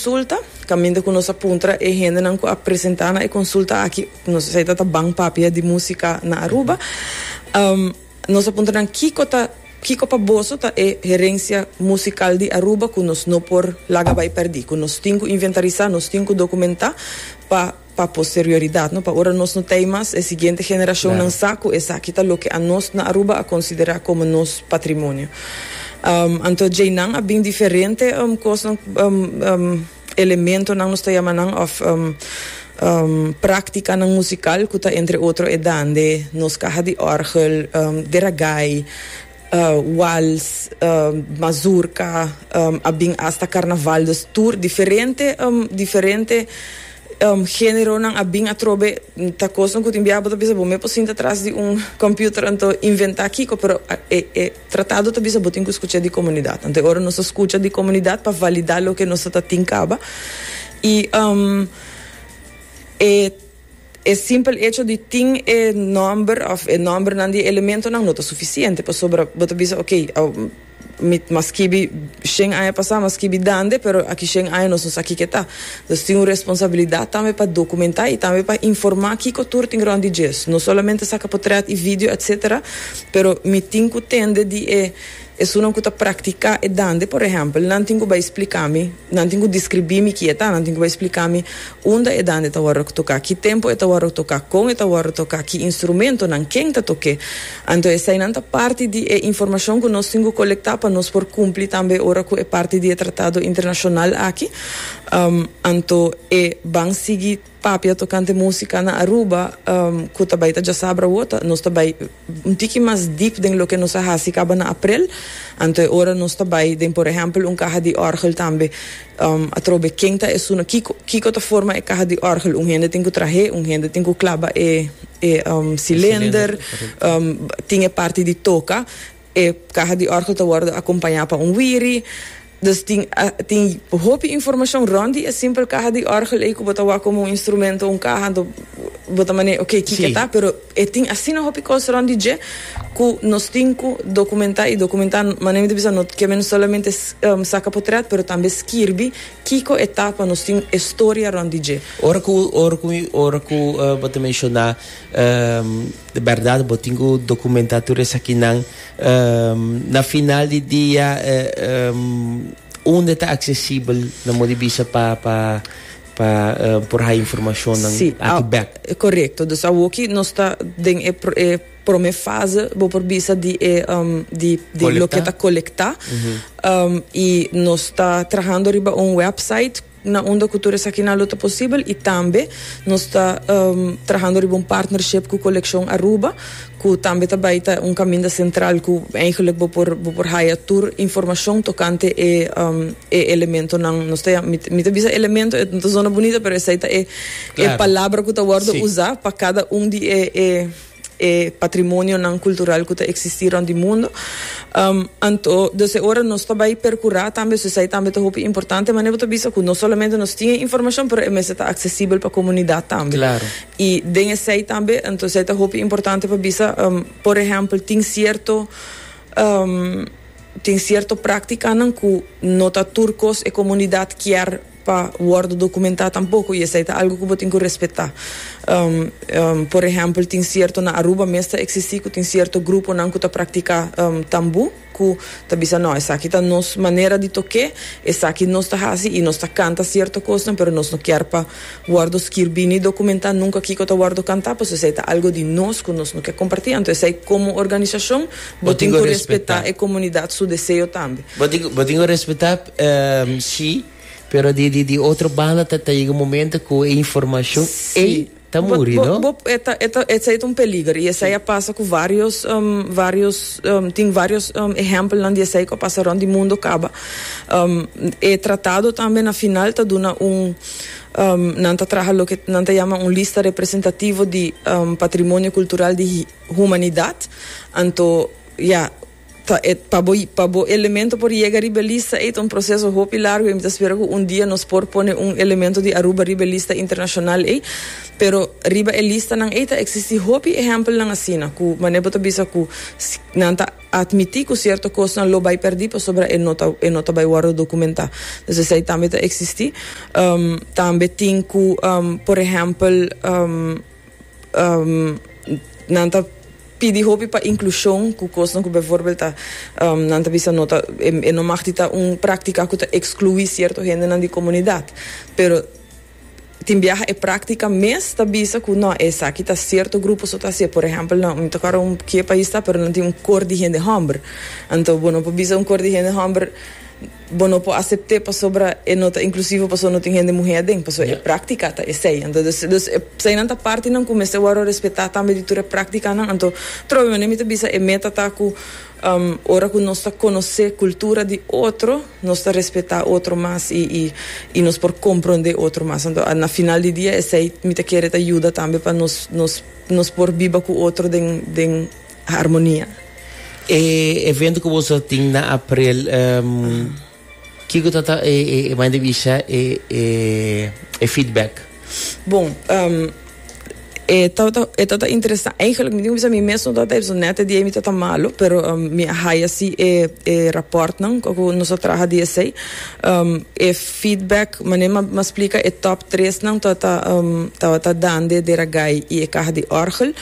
konsulta, kaminda ku nos a puntra e hendenan ku a presentá na e konsulta aki, nos esei ta ta Ban Papia di Músika na Aruba, nos a puntra nan kiko ta, kiko pa boso ta e herensia musikal di Aruba ku nos no por laga bai pèrdí, ku nos tin ku inventarisá, nos tin ku dokumentá pa. Pa posterioridat, no? Pa ora nos no t'ei mas, e siguiente generashonnan sa ku esaki ta loke anos na Aruba a konsiderá komo nos patrimonio. Anto djeinan a bin diferente kosnan, elementonan nos ta yama nan òf práktikanan musikal ku ta entre otro e dande, nos kaha di òrgel, deragai, wals, mazurka, a bin asta karnaval, dus tur diferente diferente generonan a bin atrobe ta kosnan ku tin biaha bo ta bisa bo me por sinta tras di un computer anto inventa kiko pero e e tratado ta bisa bo tin ku skucha di komunidat anto e ora nos a skucha di komunidat pa valida loke nos ta tin kaba i e E simpel hecho di tin e nomber of e nombernan di e elementonan no ta suficiente pasobra bo ta bisa ok mi m'a skibi shen aña pasa m'a skibi dande pero aki shen aña nos no sa kiko e ta. Dus tin un responsabilidad tambe pa documenta y tambe pa informa kiko tur tin rond di djes. No solamente saca potret y video etcetera pero mi tin cu tende di e Esunnan ku ta praktiká e dande, por ehèmpel, nan tin ku bai splika mi, nan tin ku deskribí mi ki e ta, nan tin ku bai splika mi unda e dande ta wòrdu toká, ki tempu e ta wòrdu toká, kon e ta wòrdu toká, ki instrumentonan, ken ta tok'é. Anto eseinan ta parti di e informashon ku nos tin ku kolektá pa nos por kumpli tambe ora ku e parti di e tratado internashonal aki. Anto e ban sigui papia tokante músika na Aruba ku ta bai ta djasabra awor, ta nos ta bai un tiki mas dip den loke nos a hasi kaba na aprel. Anto e ora nos ta bai den por ehèmpel un kaha di òrgel tambe atrobe ken ta esun kiko kiko ta forma e kaha di òrgel un hende tin ku trah'é un hende tin ku klaba e e silender tin e parti di toka e kaha di òrgel ta wòrdu akompañá pa un wiri. Dus tin tin hopi informashon rònt di e simpel kaha di òrgel ei ku bo ta wak komo un instrumento, un kaha, anto bo ta manera oke kiko e ta, pero e tin asina hopi kos rònt di dje ku nos tin ku dokumentá i dokumentá manera mi ta bisa no ke men solamente saka potrèt pero tambe skirbi kiko e ta pa nos tin e storia rònt di dje. Ora ku ora ku ora ku bo ta menshoná di bèrdat bo tin ku dokumentá tur esakinan. Na final di dia unda ta aksesibel na modo di bisa pa pa pa por haya informashonnan Sí, aki bek? korekto. Dus awoki nos ta den e e prome fase bo por bisa di e di di loke ta kolektá. I nos ta trahando riba un website. Na unda ku tur esakinan lo ta posibel i tambe nos ta trahando riba un partnership ku Kolekshon Aruba ku tambe ta bai ta un kaminda sentral ku eigenlijk bo por bo por haya tur informashon tokante e e elementonan nos ta yama mi ta bisa elemento e no ta zona bunita pero esei ta e e palabra ku ta wòrdu usa pa kada un di e e e patrimonionan cultural cu ta existi rond di mundo. Anto, dus e ora nos ta bay percura tambe, so esey tambe ta hopi importante, manera bo ta bisa cu no solamente nos tin e informacion, pero e mester ta accesibel pa comunidad tambe. Y den esey tambe, anto esey ta hopi importante pa bisa, por ehempel, tin cierto, tin cierto practicanan cu no ta tur cos e comunidad kier pa wòrdu dokumentá tampoko i esei ta algu ku bo tin ku respetá. Por ehèmpel tin sierto na Aruba mes ta eksistí ku tin sierto gruponan ku ta praktiká tambú ku ta bisa no esaki ta nos manera di tok'é, esaki nos ta hasi i nos ta kanta sierto kosnan pero nos no kier pa wòrdu skirbí ni dokumentá nunka kiko ta wòrdu kantá pasobra esei ta algu di nos ku nos no ke kompartí. Anto esei komo organisashon bo tin ku respetá e komunidat su deseo tambe. Bo tin ku respetá sí. Pero di di di otro banda ta ta yega un momento cu e informacion ey ta muri, no? Bo, e ta, e ta, esey ta un peliger y esey a pasa cu varios, varios, tin varios ehempelnan di esey cu a pasa rond di mundo caba. E tratado tambe na final ta duna un, nan ta traha loke nan ta yama un lista representativo di patrimonio cultural di humanidad. Anto, ya. Ta e pa bo pa bo elemento por yega riba e lista ei ta un proceso hopi largo y mi ta spera cu un dia nos por pone un elemento di Aruba riba e lista internacional ei. Pero riba e listanan ei ta existi hopi ehempelnan asina cu manera bo ta bisa cu nan ta admiti cu cierto cosnan lo bay perdi pasobra e no ta e no ta bay wordo documenta. Dus esei tambe ta existi. Tambe tin cu por ehempel Nan ta pidi hopi pa inklushon ku kosnan ku bijvoorbeeld ta nan ta bisa no ta e no mag di ta un praktika ku ta ekskluí sierto hendenan di komunidat. Pero tin biaha e praktika mes ta bisa ku no esaki ta sierto grupo so ta hasié. Por ehèmpel nan mi ta kòrda un ke pais ta pero nan tin un kor di hende hòmber. Anto bo no por bisa un kor di hende hòmber. Bo no por acept'é pasobra e no ta inclusivo pasobra no tin hende muhé aden, pasobra e práctica ta esei. Anto dus dus eseinan ta partinan cu mester wòrdu respetá tambe di tur e prácticanan. Anto trobe manera mi ta bisa e meta ta cu ora cu nos ta conoce cultura di otro nos ta respetá otro mas y y y nos por comprende otro mas. Anto na final di dia esei mi ta kere ta yuda tambe pa nos nos nos por biba cu otro den den harmonia. E evento ku boso tin na aprel, um, kiko ta ta e, e, e manda bisa e, e, e feedback? Bon, um, e tabata, e tabata interesante. Eigenlijk, mi tin ku bisa mi mes no tabata ei, pasobra net e dia mi tabata malo, pero um, mi a haya si e, e rapportnan ku nos a traha di esei. Um, e feedback, manera mi a, mi a splika, e top tresnan tabata, um, tabata Dande, Deragai i e kaha di orgel.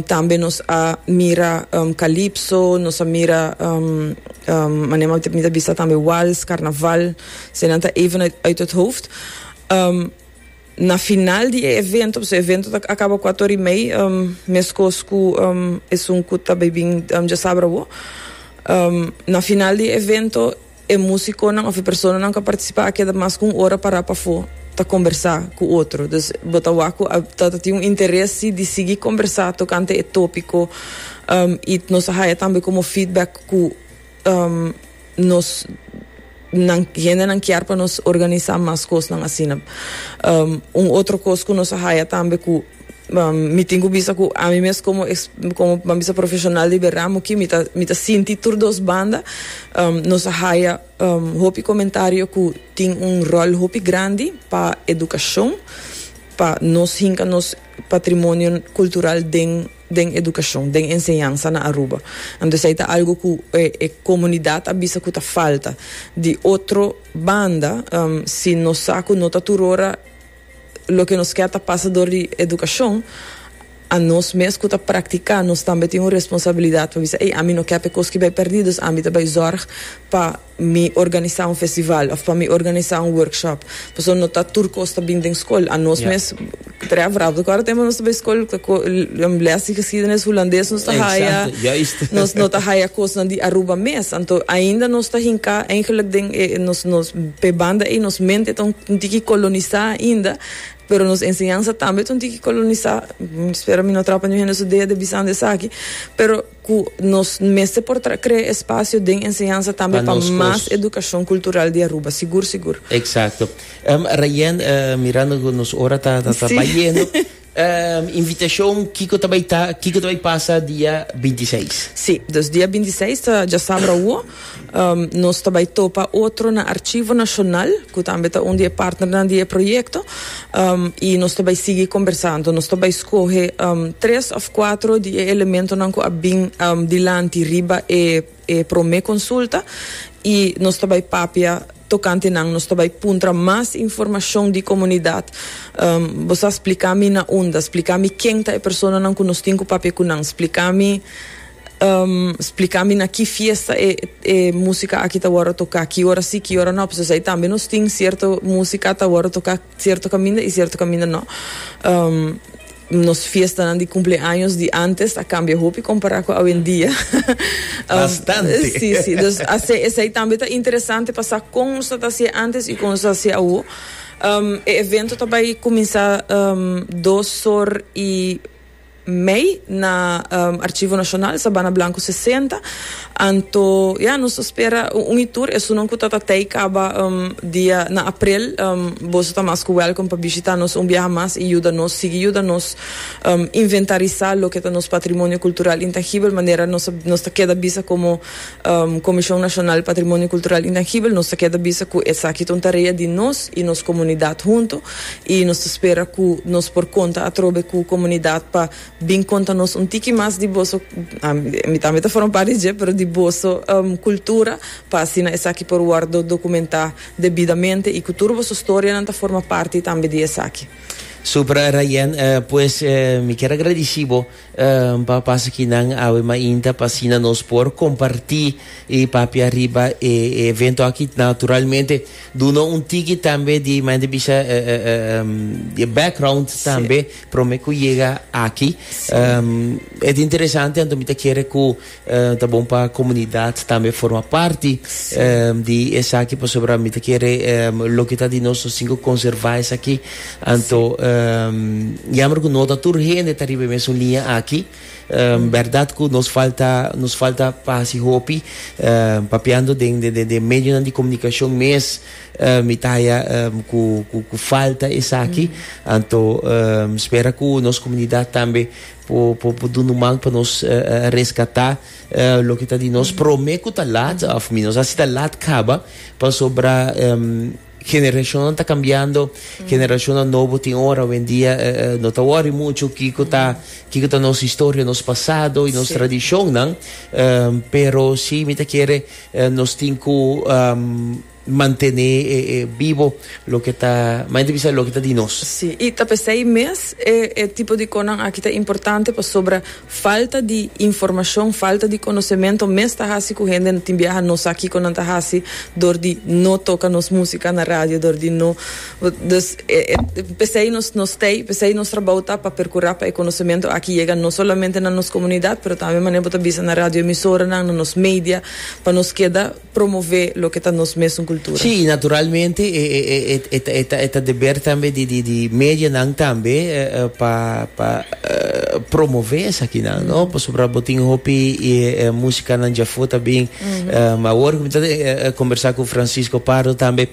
Tambe nos a mira calypso, nos a mira manera mi ta bisa tambe wals, carnaval, eseinan ta even uit het hoofd. Na final di e evento, pasobra e evento ta acaba cuatro ora y mei, mescos cu esun cu ta bay bin djasabra awo. Na final di e evento. E músikonan òf e personanan ku a partisipá a keda mas ku un ora pará pafó ta kombersá ku otro. Dus bo ta wak ku a ta tin un interes si di sigui kombersá tokante e tópiko i nos a haya tambe komo feedback ku nos nan hendenan kier pa nos organisá mas kosnan asina. Un otro kos ku nos a haya tambe ku Mi tin ku bisa ku ami mes komo komo ban bisa profeshonal di e ramo aki mi ta mi ta sinti tur dos banda. Nos a haya hopi komentario ku tin un ròl hopi grandi pa edukashon, pa nos hinka nos patrimonio kultural den den edukashon, den enseñansa na Aruba. Anto esei ta algu ku e e komunidat a bisa ku ta falta. Di otro banda si nos sa ku no ta tur ora. Loke nos kier ta pasa dor di edukashon, a nos mes ku ta praktiká nos tambe tin un responsabilidat pa bisa, ey, ami no kier pa e kos ki bai pèrdí, dus ami ta bai zòrg pa mi organisá un festival òf pa mi organisá un workshop. Pasobra no ta tur kos ta bin den skol. A nos mes, Trevor, abo ta kòrda tempu nos ta bai skol, lès di geschiedenis hulandes nos ta haya, nos no ta haya kosnan di Aruba mes. Anto ainda nos ta hinká eigenlijk den e nos nos p'e banda ei nos mente ta un tiki kolonisá ainda, pero nos enseñansa tambe ta un tiki kolonisá. Mi spera mi no trapa niun hende su dede bisando esaki, pero ku nos mester por krea espasio den enseñansa tambe pa mas edukashon kultural di Aruba, sigur sigur. Eksakto. Rayen, mirando ku nos ora ta ta bayendo. Invitashon, kiko ta bai ta, kiko ta bai pasa dia bintiseis? Sí, dus dia bintiseis ta djasabra awo. Nos ta bai topa otro na Archivo Nashonal, ku tambe ta un di e partnernan di e proyekto, i nos ta bai sigui kombersá. Anto nos ta bai skohe tres òf kuatro di e elementonan ku a bin dilanti riba e e promé konsulta i nos ta bai papia. Tokante nan nos ta bai puntra mas informashon di komunidat. Bo sa splika mi na unda, splika mi ken ta e personanan ku nos tin ku papia ku nan, splika mi splika mi na ki fiesta e e musika aki ta wòrdu toká, ki ora si, ki ora no. Pasobra esei tambe nos tin sierto musika ta wòrdu toká sierto kaminda i sierto kaminda no. Nos fiestanan di cumpleaños di antes a cambia hopi compara cu awendia. Bastante. Sí, sí. Dus esey tambe ta interesante pa sa con nos ta hacié antes y con nos ta hacié awo. E evento ta bay cuminsa dos or y. mei na Archivo Nacional, Sabana Blanco 60. Anto, ya, nos ta spera un y tur esunnan cu ta ta tey caba dia na april, boso ta mas cu welcome pa bishita nos un biaha mas y yuda nos, sigui yuda nos inventarisa loke ta nos patrimonio cultural intangibel, manera nos nos ta keda bisa como Comision Nacional Patrimonio Cultural Intangibel, nos ta keda bisa cu esaki ta un tarea di nos y nos comunidad hunto y nos ta spera cu nos por conta atrobe cu comunidad pa bin conta nos un tiki mas di boso, mi tambe ta forma parti dje, pero di boso cultura pa asina esaki por wordo documenta debidamente y cu tur boso storianan ta forma parti tambe di esaki. Super Rayen, pues mi kier a gradici bo pa pasa kinan awe mainta pa asina nos por comparti y papia riba e evento aki. Naturalmente duna un tiki tambe di manera di bisa di e background tambe prome cu yega aki. E ta interesante anto mi ta kere cu Ta bon pa comunidad tambe forma parti di esaki pasobra mi ta kere loke ta di nos nos tin cu conserva esaki. Anto jammer cu no ta tur hende ta riba e mesun liña aki. Berdad cu nos falta nos falta pa haci hopi papiando den den medionan di comunicacion mes mi ta haya cu cu falta esaki. Anto spera cu nos comunidad tambe Por por duna un man pa nos rescata loke ta di nos prome cu ta laat of mi no sa si ta laat caba pasobra generacionnan ta cambiando, generacionnan nobo tin ora hoendia no ta worry mucho kico ta kico ta nos historia, nos pasado y nos tradicionnan pero si mi ta kere nos tin cu Mantené e bibo loke ta, manera di bisa loke ta di nos. Sí, i ta p'esei mes e e tipo di konan aki ta importante pasobra falta di informashon, falta di konosementu mes ta hasi ku hende tin biaha no sa kiko nan ta hasi dor di no toka nos músika na radio, dor di no, dus e e p'esei nos nos t'ei, p'esei nos trabou ta pa perkurá pa e konosementu aki yega no solamente na nos komunidat pero tambe manera bo ta bisa na radioemisoranan, na nos media pa nos keda. Promové loke ta nos mesun kultura. Sí, i naturalmente e e e ta e ta deber tambe di di di medianan tambe pa pa promové esakinan, no? Pasobra bo tin hopi e musikanan djafó ta bin. Awor ku mi ta kombersá ku Francisco Pardo tambe,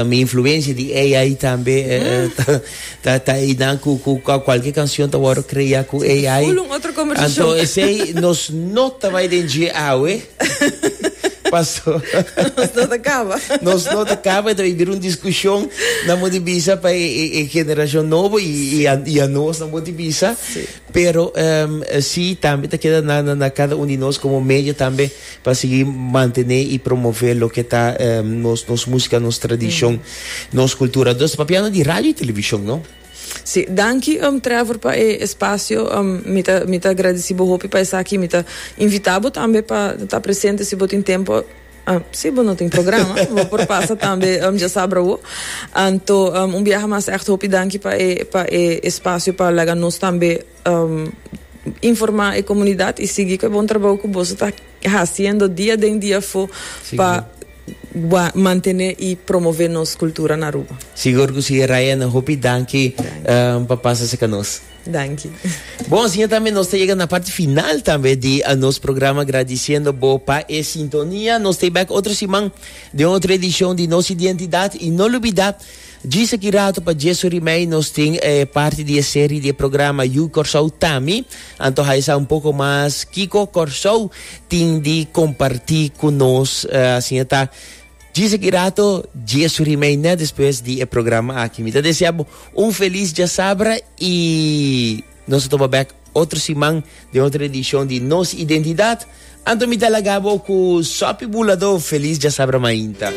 mi influensia di AI tambe ta ta ta einan ku ku kualke kanshon ta wòrdu kreá ku AI. Full un otro kombersashon. Anto esei nos no ta bai den dje awe. Paso. Nos no ta caba. Nos no ta caba, ta bira un discusion na mo di bisa pa e, e, e generacion nobo y, y, a, y a nos na mo di bisa. Sí. Pero um, sí, tambe ta queda na, na, na cada un di nos como medio tambe pa sigui mantene y promove lo que ta um, nos, nos música, nos tradicion, mm. nos cultura. Dus papiando di radio y television, no? Sí, danki um, Trevor pa e espacio. Um, mi ta, mi ta agradeci bo hopi pa esaki. Mi ta invita bo tambe pa ta presente si bo tin tempo. Ah, si bo no tin programa, bo por pasa tambe um, djasabra awo. Anto, um, un biaha mas echt hopi danki pa e, pa e espacio pa laga nos tambe um, informa e comunidad y sigui cu e bon trabou cu boso ta haciendo dia den dia afo pa mantene y promove nos cultura na Aruba. Sigur cu si Ryan, hopi danki pa pasa cerca nos. Danki. Bon, asina tambe nos ta yega na parti final tambe di nos programa gradiciendo bo pa e sintonia. Nos ta back otro siman den otro edicion di Nos Identidad y no lubida Djis aki rato pa djes ora y mei nos tin e parti di e serie di e programa Yu Kòrsou Tami. Anto haya sa un poko mas kiko Kòrsou tin di kompartí ku nos. Asina ta djis aki rato djes ora y mei nèt despues di e programa aki. Mi ta desea bo un felis djasabra y nos ta topa bèk otro siman den otro edishon di Nos Identidat. Anto mi ta laga bo ku Sopi Buladó. Felis djasabra mainta.